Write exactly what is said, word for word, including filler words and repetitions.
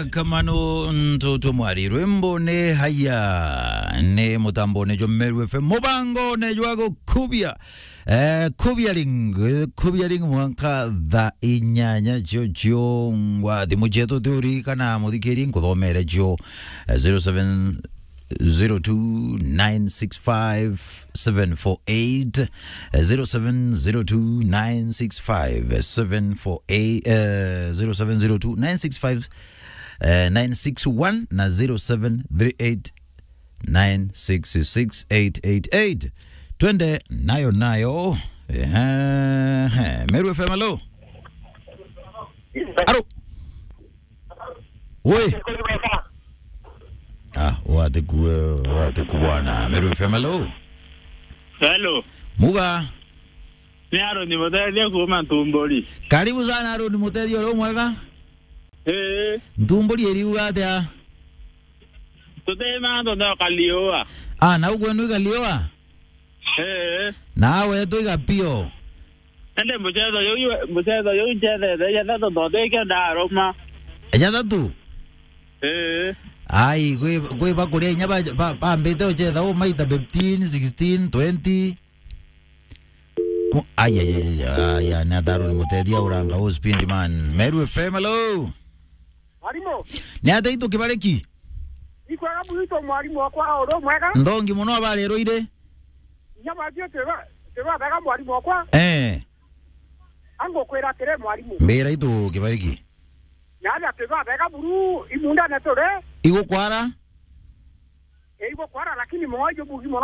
Kamano ntutu mwari rwimbo ni haya ni mutambone jwa Meru F M, mubangone jwa gukubia, eh, kubia ring, kubia ring mwanka thaa inyanya cio ciongwa. Thimu cietu tiurikana muthikiri nkuthomere cio, eh, zero seven zero two nine six five seven four eight, eh, zero seven zero two nine six five seven four eight, eh, zero seven zero two nine six five eh, nine six one na zero seven three eight nine six six eight eight eight. Twende nayo nayo. Ehe, Meru F M, hello. Aro. Oi. Ah, wate ku, wate ku bwana. Meru F M, hello. Hello. Muga. Ni Aroni Mutethia kuuma Ntumburi. Karibu sana Aroni Mutethia, uri mwega? Ee. Ntumburi iriuga atia? Tuti mantu no kaliua. Ah, na ukwenu ikaliua? Ee. Na wetu igapio. Ende mucetho juu, mucetho juu ncethete jathatu ndote ikio ndaruma. Jathatu? Ee. Ai, kwi, kwi bakuria inya ba, ba, bambite uchetha u maita fifteen, sixteen, twenty. Oh, ai, ai, ai, ai, ai, ai, ni atharu ni mutethia uranga u speed man. Meru F M, hello. Mwarimu. Ni atia itu kibariki? Ikwega bwito mwarimu wakwa, uri mwega? Ndongi muno, abari rwire? Inya batio tiba, tiba bega mwarimu wakwa. Eh. Angukwira atiri mwarimu. Mbira itu kibariki. Naja tiba bega buru imundane turi. Igukwara? Igukwara, lakini moyo bugi mono